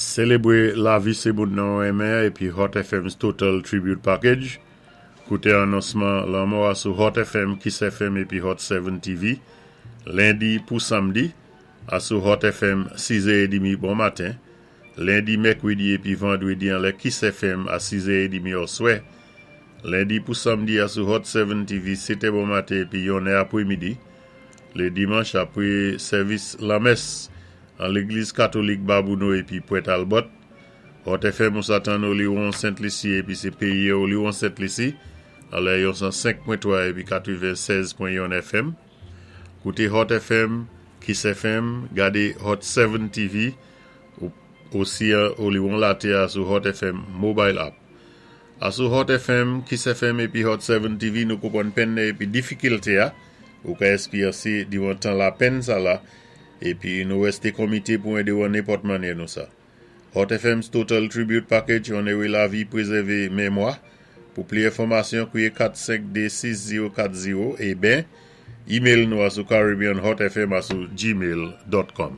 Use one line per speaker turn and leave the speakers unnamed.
Sélébwé lavi sé moun nan ou renmen épi Hot FM's Total Tribute Package. Kouté anonsman lanmò a sou Hot FM, Kiss FM épi Hot 7 TV. Lendi pou samdi, asou Hot FM 6h30 bon maten. Lendi, mèkwédi épi vandwédi anlè Kiss FM a 6h30 oswè. Lendi pou samdi asou Hot 7 TV 7 bon maten épi 1 apwémidi. Lé dimanch apwé sèvis lanmès an légliz katolik Babouno épi Pwent Albòt. Hot FM ou sa tann Oliwon Sent Lisi épi sé péyi Oliwon Sent Lisi anlè yon 105.3 épi 96.1 FM. Kouté Hot FM, Kiss FM, gadé Hot 7 TV ou osi Oliwon Laté a sou Hot FM Mobile App. Asou Hot FM, Kiss FM épi Hot 7 TV nou konpwann penn épi difikilté a ou ka èspéryansé diwan tan lapenn sa la épi nou wèsté komité pou édé ou an nenpòt mannyè nou sa. Hot FM's Total Tribute Package onwé lavi pwézèvé mémwa. Pou pli enfòmasyon, kwié 4526040 é ben, email nou asou caribbeanhotfm@gmail.com.